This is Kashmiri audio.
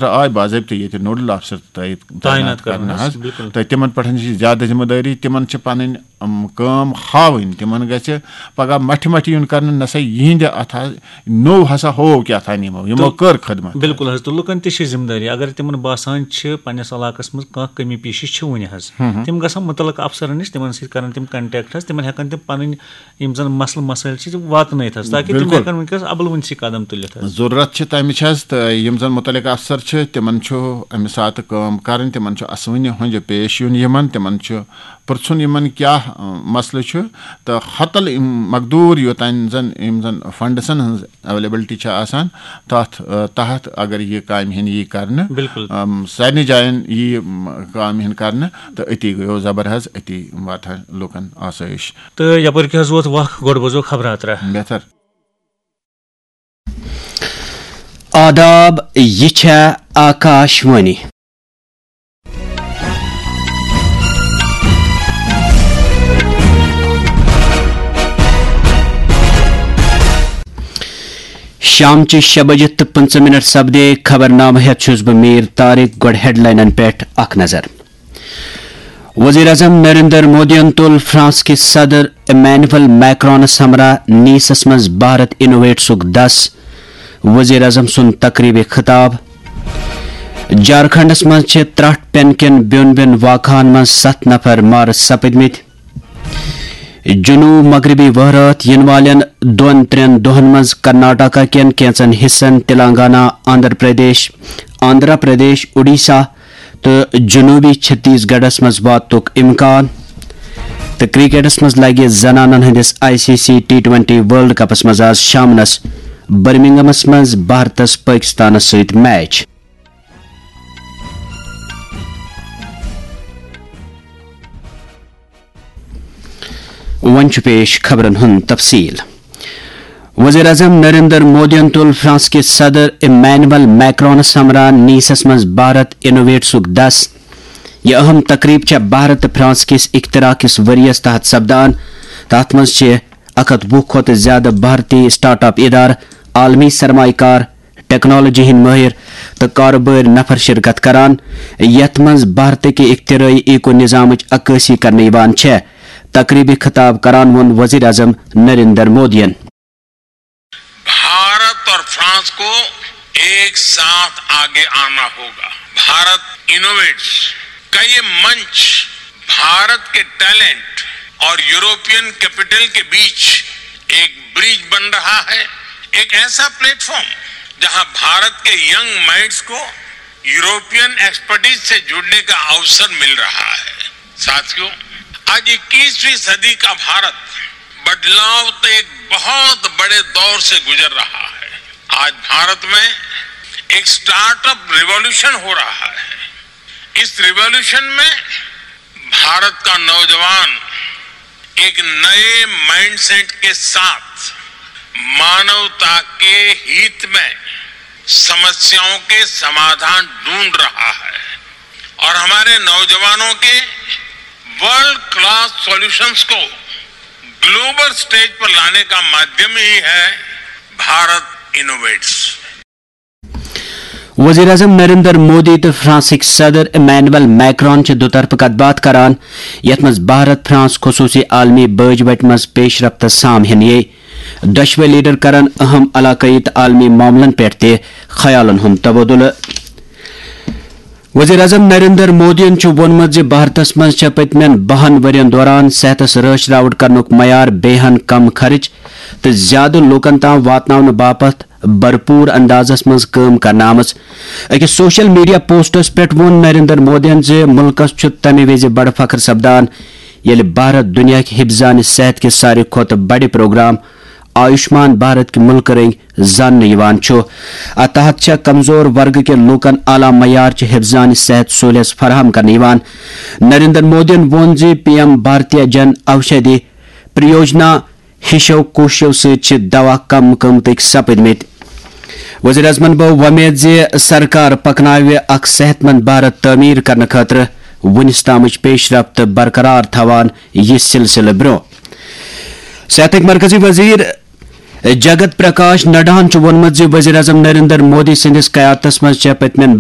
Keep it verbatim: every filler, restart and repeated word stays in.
آے باضٲبطہٕ ییٚتہِ نوڈل آفسر تعیِد تعینات کرنہٕ کرنہٕ حظ۔ حظ، بِلکُل۔ تہٕ تِمن پٮ۪ٹھ چھِ زیادٕ ذمہٕ دٲری، تِمن چھِ پنٕنۍ، أم، کٲم ہاوٕنۍ، تِمن گژھِ پگاہ مٹھِ مٹھِ یُن کرنہٕ، نہ سا یِہنٛدِ اتھ حظ نوٚو ہسا ہوو کیٛاہ تام یِمو، یِمو تہٕ کٔر خدمت۔ بِلکُل حظ، تہٕ لُکن تہِ چھِ ذمہٕ دٲری، اگر تِمن باسان چھِ پننِس علاقس منٛز کانٛہہ کمی پیٖشی چھِ وُنہِ حظ، ہم ہم۔ تِم گژھن مُتعلقہٕ افسرن نِش، تِمن سۭتۍ کرن تِم contact حظ، تِمن ہٮ۪کن تِم پنٕنۍ یِم زن مسلہٕ مسٲیل چھِ، تِم واتنٲیِتھ حظ، تاکہِ تِم بِلکُل۔ ہٮ۪کن وٕنکیٚس ابل وٕنسٕے قدم تُلِتھ حظ۔ ضروٗرت چھِ تَمِچ حظ، تہٕ یِم زَن مُتعلِق افسر چھِ، تِمَن چھُ اَمہِ ساتہٕ کٲم کَرٕنۍ، تِمَن چھُ اَسوٕنہِ ہُنٛد پیش یُن یِمَن، تِمَن چھُ پِرٛژھُن یِمَن کیٛاہ، اَ، مسلہٕ چھُ، تہٕ ہۄتَل یِم مقدوٗر یوٚتام زَن یِم زَن فنڈسَن ہٕنٛز availability چھِ آسان، تَتھ، اَ، تحت اگر یہِ کامہِ ہِن یی کَرنہٕ، بِلکُل۔ اَم، سارنٕے جایَن یی، اَم، کامہِ ہِن کَرنہٕ، تہٕ أتی گٔیو زبر حظ، أتی واتہِ ہا لُکَن آسٲیِش۔ تہٕ یپٲرۍ کیٛاہ حظ ووت وق، گۄڈٕ بوزو خبراترا۔ بہتر۔ آداب، یہِ چھےٚ آکاش وانی۔ شامچہِ شےٚ بجہِ تہٕ پٕنٛژٕہ منٹ سپدے۔ خبرنامہٕ ہٮ۪تھ چھُس بہٕ میٖر طارق۔ گۄڈٕ ہیڈلاینن پٮ۪ٹھ اکھ نظر۔ وزیر اعظم نریندر مودیَن تُل فرانس کِس صدر ایمینوئل میکرونس ہمراہ نیسس منٛز بھارت انوویٹسُک دس۔ وزیر اعظم سُنٛد تقریبِ خطاب۔ جھارکھنڈس منٛز چھِ ترٹھ پٮ۪ن کٮ۪ن بیوٚن بیوٚن واقعہن منٛز ستھ نفر مارٕ سپٕدمٕتۍ۔ جنوب مغربی وہرٲژ یِنہٕ والٮ۪ن دۄن ترٛٮ۪ن دۄہن منٛز کرناٹکا کٮ۪ن کینٛژن حصن، تلنگانہ، آندھرا پردیش، آندھرا پردیش، اوڈیشہ تہٕ جنوبی چھتیس گڑھس منٛز واتُک امکان۔ تہٕ کرکٹس منٛز لگہِ زنانن ہٕنٛدِس I C C T twenty world کپس منٛز آز شامنس برمنگمس منٛز بھارتس پٲکستانس سۭتۍ میچ۔ وۄنۍ چھُ پیش خبرن ہُنٛد تفصیل۔ وزیر اعظم نریندر مودیَن تُل فرانس کِس صدر ایمینوئل میکرونس ہمراہ نیسس منٛز بھارت انوویٹسُک دس۔ یہِ اہم تقریب چھےٚ بھارت تہٕ فرانس کِس اختراع کِس ؤریَس تحت سپدان۔ تَتھ منٛز چھِ اکھ ہتھ وُہ کھۄتہٕ زِیٛادٕ بھارتی سٹارٹ اپ ادارٕ، عالمی سرمایہ کار، ٹیکنالوجی ہٕنٛدۍ مٲہِر تہٕ کارٕبٲرۍ نفر شرکت کران، یتھ منٛز بھارتٕکہِ اختراعی ایکو نظامٕچ عکٲسی کرنہٕ یِوان چھےٚ۔ تقریبہِ خطاب کران ووٚن وزیر اعظم نریندر مودیَن۔ بھارت اور فرانس کو ایک ساتھ آگے آنا ہوگا۔ بھارت انوویٹس کا یہ منچ بھارت کے ٹیلنٹ اور یورپین کیپٹل کے بیچ ایک برج بن رہا ہے، ایک ایسا پلیٹ فارم جہاں بھارت کے ینگ مائنڈز کو یورپین ایکسپرٹیز سے جڑنے کا اوسر مل رہا ہے۔ ساتھیوں، آج اکیسویں صدی کا بھارت بدلاؤ کے ایک بہت بڑے دور سے گزر رہا ہے۔ آج بھارت میں ایک سٹارٹ اپ ریوولوشن ہو رہا ہے۔ اس ریوولوشن میں بھارت کا نوجوان ایک نئے مائنڈ سیٹ کے ساتھ مانوتا کے ہت میں سمسیاؤں کے سمادھان ڈھونڈ رہا ہے اور ہمارے نوجوانوں کے ورلڈ کلاس سولوشنز کو گلوبل سٹیج پر لانے کا مادھیم ہی ہے بھارت انوویٹس۔ وزیر اعظم نریندر مودی تہٕ فرانسٕکۍ صدر ایمینوئل میکرون چھِ دُطرفہٕ کتھ باتھ کران، یتھ منٛز بھارت فرانس خصوٗصی عالمی بٲج وتہِ منٛز پیش رفتس سام ہینہٕ یِیہِ۔ دۄشوے لیڈر کرن اہم علاقٲیی تہٕ عالمی معاملن پٮ۪ٹھ تہِ خیالن ہُنٛد تبادلہٕ۔ وزیر اعظم نریندر مودیَن چھُ ووٚنمُت زِ بھارتس منٛز چھےٚ پٔتمٮ۪ن بَہَن ؤرین دوران صحتس رٲچھ راوٹ کرنُک معیار بیٚیہِ ہن کم خرٕچ تہٕ زیادٕ لوٗکن تام واتناونہٕ باپتھ بھرپوٗر اندازس منٛز کٲم کرنہٕ آمٕژ۔ أکِس سوشل میڈیا پوسٹس پٮ۪ٹھ ووٚن نریندر مودیَن زِ مُلکس چھُ تَمہِ وِزِ بڑٕ فخر سپدان، ییٚلہِ بھارت دُنیاہٕکۍ حفظانِ صحت کہِ ساروی کھۄتہٕ بڑِ پروگرام آیوشمان بھارت کہِ مُلکہٕ رٔنگۍ زاننہٕ یِوان چھُ۔ اتھ تحت چھےٚ کمزور ورگہٕ کہِ لوٗکن اعلیٰ معیار چہِ حفظانِ صحت سہولیژ فراہم کرنہٕ یِوان۔ نریندر مودیَن ووٚن زِ پی ایم بھارتیہ جن اوشدھی پریوجنا ہِشو کوٗششو سۭتۍ چھِ دوا کم قۭمتٕکۍ سپٕدمٕتۍ۔ وزیر اعظمن بٲو وۄمید زِ سرکار پکناوِ اکھ صحت مند بھارت تعمیٖر کرنہٕ خٲطرٕ وُنِس تامٕچ پیش رفت برقرار تھاوان یہِ سلسلہٕ برٛونٛہہ۔ صحتٕکۍ مرکزی وزیر جگت پرکاش نڈاہن چھُ ووٚنمُت زِ وزیر اعظم نریندر مودی سٕنٛدِس قیادتس منٛز چھےٚ پٔتمٮ۪ن